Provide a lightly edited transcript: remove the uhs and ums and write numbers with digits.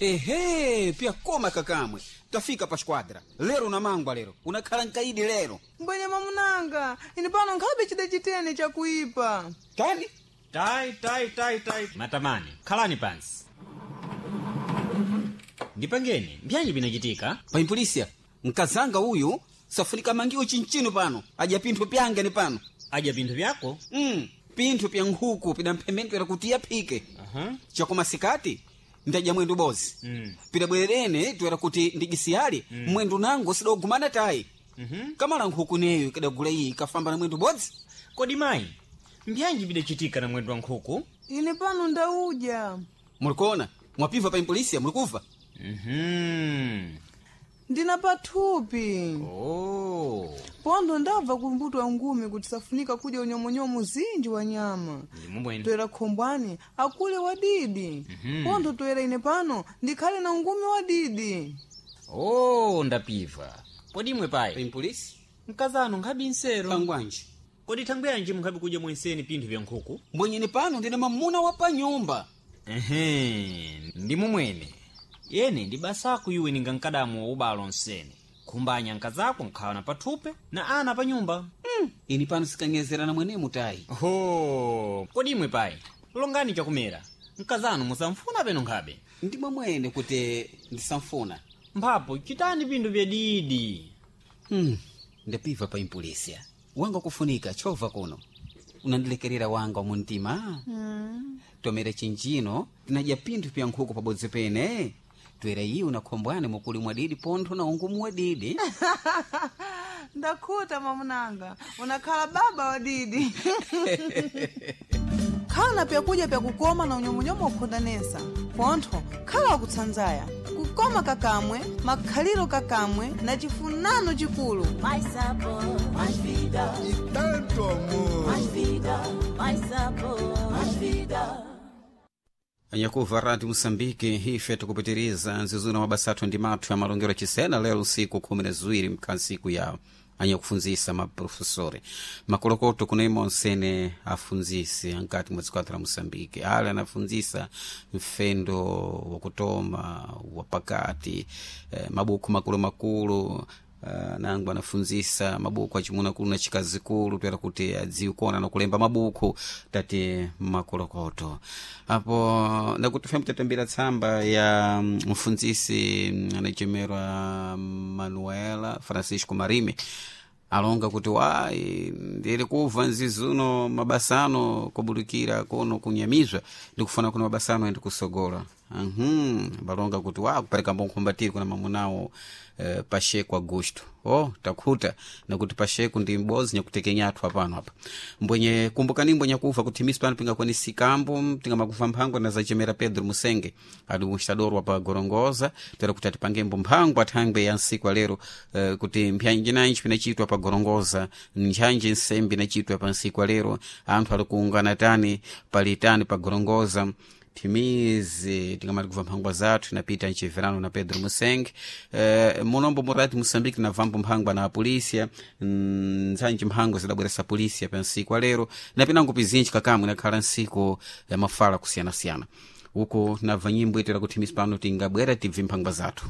Ehe, pyakoma kakamwe, tafika pa squadra lero namangwa lero unakhala nkaidi lero. Mbwenye mamunanga, ine pano nkhabe chida chitene chakuipa. Tani? Tai, tai, tai, tai, matamani, khalani pansi. Ndipangeni, mbyanyi binachitika? Paimpolisia, mkazanga uyu safunika mangiwo chinchino pano, adya pinthu pyange ni pano. Adya pinthu vyako? Pinthu pya nkhuku pidamphemedwera kuti yaphike. Chakoma sikati ndadya mwendo bozi. Pidabwererene toera kuti ndijisiyale mwendo nango sidogumana tayi. Kamala nkhuku neyo ikadagula iyi ikafamba na mwendo bodzi. Kodi mayi, mbyanji bidachitika na mwendo wa nkhuku? Ine pano ndaudya. Mulikuona mwapiva paimpolisia, mulikuva? Ndina pathupi. Oh. Pondo ndabva kumbuto wa ngumi kuti safunika kudya unyomonyomo zinji wa nyama. Ndimubwene. Toera khombwani akule wadidi. Pondo toera ine pano ndikhale na ungumi wadidi. Oh, ndapiva. Kodi imwe payi, Paimpolisi. mkazanu nkhabi nsero? Pangwanji. Kodi thangwi yanji munkhabi kudya mwenseni pinthu vya nkhuku? Mbwenyeni pano ndine mamuna wa panyumba. Ehe, ndi mumwene. Yene ndi basako iwe ninga mkadamu wa ubalo nsene. Khumbanya nkazako nkhala na pathupe na ana pa nyumba. Ini pano sikanyezerana mwenemu tayi. Ho, kodi imwe payi, longani chakumera. Mkazanu musamfuna peno nkhabe. Ndimwe mwene kuti ndisamfuna. Mphapo chitani pinthu vya didi. Ndapiva pa impolisia wanga kufunika chova kuno unandilekerera wanga wa muntima. Tomera chinjino tinadya pinthu pya nkhuku pabodzi pene twera iwo na khombwane mukuli mwadidi pontho na ungumu wadidi. Ndakhuta mamunanga, unakhala baba wadidi. Khala na pyakudya pyakukoma na unyomonyomo wakhondanesa pontho khala wakutsanzaya kukoma kakamwe makhaliro kakamwe na chifunano chikulu. Mais sabor, mais vida, E tanto amor. Mais vida, mais sabor, mais vida. Anyakuva Rádio Moçambique, ife tikupitiriza nzizuna mabasa ndi mathu ya malongero achisena lero usiku 12 mkhansiku ya anyakufunzisa maprofesori makolokoto kuno onsene afunzisi ankati mwa dziko la Moçambique ale anafunzisa mfendo wakutoma wapakati mabuku makulu nangu anafunzisa mabuku achimunakulu na chikazikulu toera kuti adziwe kuona nakulemba mabuku tati makolokoto apo ndakuti fm tatambira tsamba ya mfunzisi anachemerwa Manuela Francisco Marime alonga kuti wayi ndiri kubva nzizuno mabasano kubudikira kuno kunyamizwa ndikufuna kuno mabasano ende kusogola. Balonga kuti wa kupereka mbonkhumbatiri kuna mamunawo Pacheco Augusto. Oh, takhuta nakuti Pacheco ndi m'bodzi nyakutekenyathu apano apa mbwenye kumbukani mbwenye kuva kuti misi pano pingakwanisikambo tingamakuva mphango na zachemera Pedro Musenge ali mustadorwa pa Gorongoza tera kuti atipangembo mphango athangwe ya nsiku alero kuti mpyanji nanji pinachitwa pa Gorongoza, nthanji nsembe inachitwa pa nsiku alero, anthu ali kuungana tani pali tani pa Gorongoza. Timizi tingamati kubva mphangwa zathu inapita mchiverano na Pedro Musenge munombo murati Moçambique navambo mphangwa na apolisia, ntsanji mphango zidabweresa polisia pa nsiku alero napinango pizinji kakamwe inakhala nsiku ya mafala kusiyanasiyana uko nabva nyimbo itera kuti misi pano tingabwera tibve mphangwa zathu.